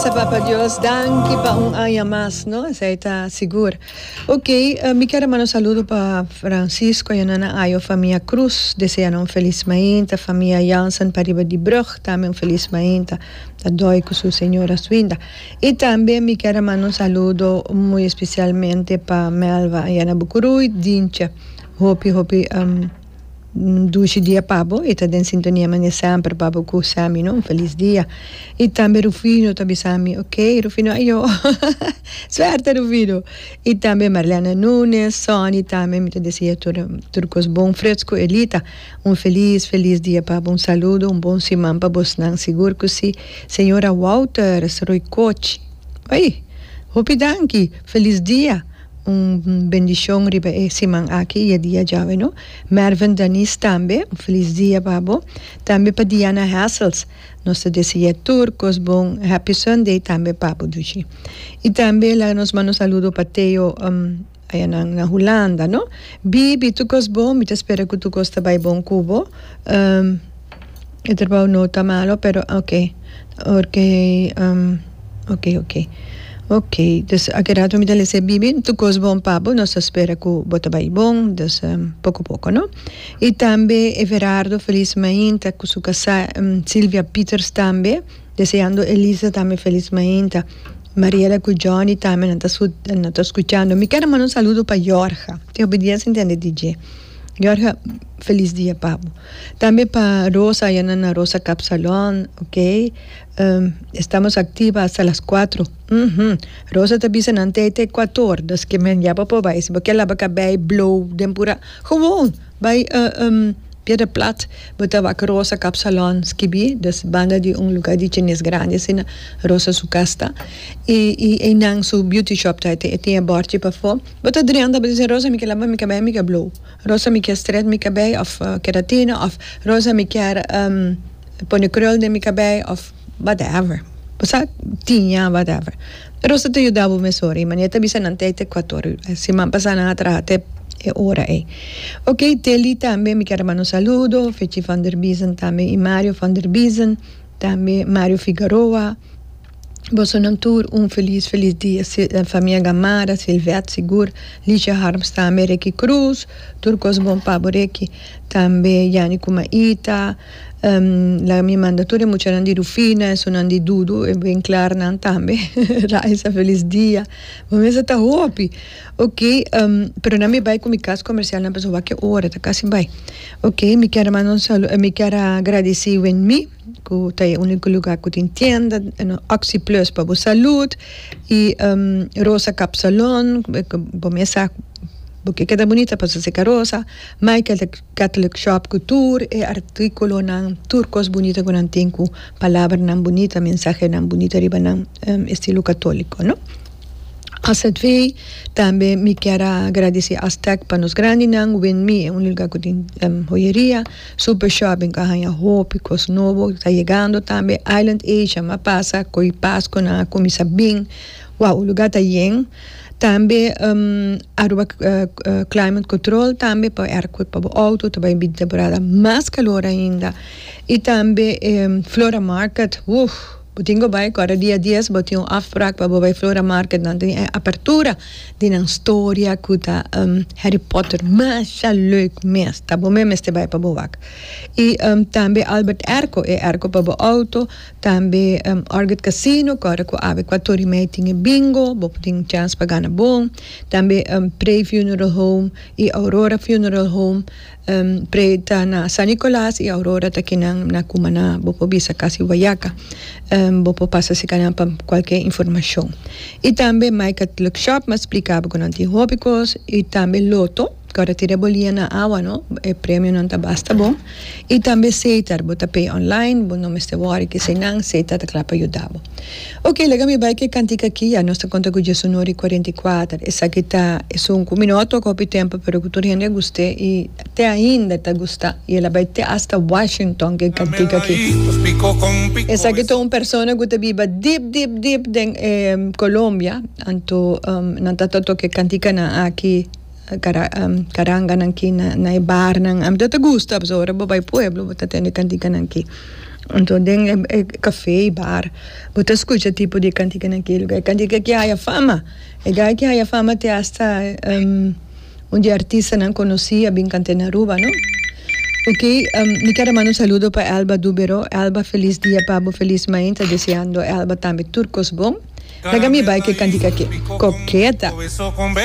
bisa Papa Dios danki pa un aña mas, no? Esei ta sigur. Ok, mi kier a manda un saludo pa Francisco y Nana Ayo, famia Cruz, desea nan un felis mainta, famia Jansen pariba di brug tambe un felis mainta, ta doi cu su señora Swinda. Y tambe mi kier a manda un saludo muy especialmente pa Melva y Ana Bucuruy, Dintje, hopi hopi. Dushi dia pa bo y ta den sintonia mane semper pa bo cu Sammy no un feliz dia y tambe Rufino ta bisa mi ok Rufino ayo suerte Rufino y tambe Marlene Nunes Sonny tambe mi ta desea tur tur cos bon Frits cu Elita un feliz feliz dia pa bo un saludo un bon siman pa bosnan sigur cu si señora Wouters Roycochi ay hopi danki feliz dia. Un bendicion riba e siman aki y e dia djawe no. Mervin Danis tambe un feliz dia pa bo. Tambe pa Diana Hessels nos ta desea tur cos bon happy Sunday tambe pa bo dushi. Y tambe laga nos manda un saludo pa Theo aya nan na Hulanda no. Bibi tur cos bon mi ta spera cu tur cos ta bay bon cu bo. E trabou no ta malo pero ok ok ok ok ok dus aki rato mi ta lesa e bibi tur kos bon pa bo nos ta spera ku bo ta bai bon dus poko poko no y tambe Everardo felis mainta ku su kasá Silvia Pieters tambe deseando Elisa tambe felis mainta Mariela ku Johnny tambe nan ta nan ta skuchando mi kier a manda un saludo pa Jorge tin hopi dia sin tende di dje. Jorge, felis dia pa bo. Tambe pa Rosa, allá na Rosa Cap Salon, ok. Estamos activa hasta las cuatro. Uhum. Rosa ta bisa nan te te cuator, dus ke men ya bo por bai. Si bo ke laba kabei, blow, den pura, gewoon bai Piedra Plat, bo ta wak Rosa Cap Salon skibi, dus banda di un lugar di chines grandi asina, Rosa su kas ta. I i einan su beauty shop ta, e tin e bòrchi pafó. Bo ta drenta bo ta bisa Rosa mi ke laba mi kabei mi ke blou Rosa mi ke stret mi kabei of keratina of Rosa mi kier pone krul den mi kabei of whatever bo sa tiña whatever Rosa ta yuda bo mesora y manera ta bisa nan ta te kuator siman pasa nan a traha te e ora ey ok Teli tambe mi kier a manda un saludo Fechi van der Biezen tambe y Mario van der Biezen tambe Mario Figaroa. Bosonan tur un felis felis dia famia Gamara, Silvet sigur, Licia Harms tambe, Ricky Cruz, tur kos bon pa bo Ricky, tambe Yani ku Maita, laga mi manda tur e muchanan di Rufina, esunnan di Dudu, e Winklarnan tambe, Raisa felis dia, bo mester ta hopi, ok, pero nan mi bai ku mi kas komersialnan pasobra wak e ora ta kasi bai, ok mi kier a manda un salu mi kier a gradisi Wenmi. Ku ta e úniko lugá ku tin tienda, Oxi Plus pa bo salud i Rosa Kapsalon, bo mesa bo ke keda bunita pasobra si ka rosa, Michael Catholic Shop ku tur e artíkulonan, tur kos bunita ku nan tin ku palabranan bunita, mensahenan bunita riba nan estilo katóliko no. Azv, tambe mi kier a gradisí Aztec pa nos grandinan, Winmi e un lugá ku tin hoyeria. Super shopping a haña hopi kos nobo ta yegando tambe Island Asia m'a pasa ko'i Pasco nan a kuminsá bin wow luga ta yen tambe Aruba climate control tambe pa airco pa bo auto ta bai bin temporada mas calor ainda y tambe Flora Market uf bo tin ku bai kòrda dia dies bo tin un afsprak pa bo bai Flora Market nan tin e apertura. Di nan storia ku ta Harry Potter masha leuk mes ta bo mes mester bai pa bo wak i tambe Albert Airco e airco pa bo auto tambe Orchid Casino ku ora ku awe kuator i mei tin e bingo bo por tin chans pa gana bon tambe Prey Funeral Home i Aurora Funeral Home. Prey ta na San Nicolas y Aurora ta kinan na Cumaná, bo por bisa casi Guayaca. Bo por pasa si kanan pa cualke informacion. Y tambe My Catholic Shop, m'a splica bo cu nan tin hopi cos y tambe Lotto, cu ora tira bo lia na awa no, e premionan ta basta bon. Y tambe Setar, bo ta pay online, bo no mester worry keseynan, Setar ta cla pa yuda bo. Ok, laga mi bai ku e kantika aki, ya nos ta konta ku diesunor i 44. Esaki ta esun ku mi no a toka hopi tempu, pero ku tur hende a gust'é i te ainda ta gusta. I el a bai te asta Washington ku e kantika aki. Esaki ta un persona ku ta biba dip dip dip den Colombia, anto nan ta ta toka e kantikanan aki, karanganan aki na e barnan. Ami ta ta gusta, pasobra ora bo bai pueblo bo ta tende e kantikanan aki. Anto den e café y bar bo ta scucha tipo di canticanan aki. E cantica aki a haya fama. E guy aki a haya fama te hasta un di e artistanan conoci a bin canta na Aruba, no? Ok, mi kier a manda un saludo pa Elba Dubero. Elba, feliz dia pa bo, feliz mainta. Deseando Elba tambe tur cos bon. Laga mi bai cu e cantica aki. Coqueta.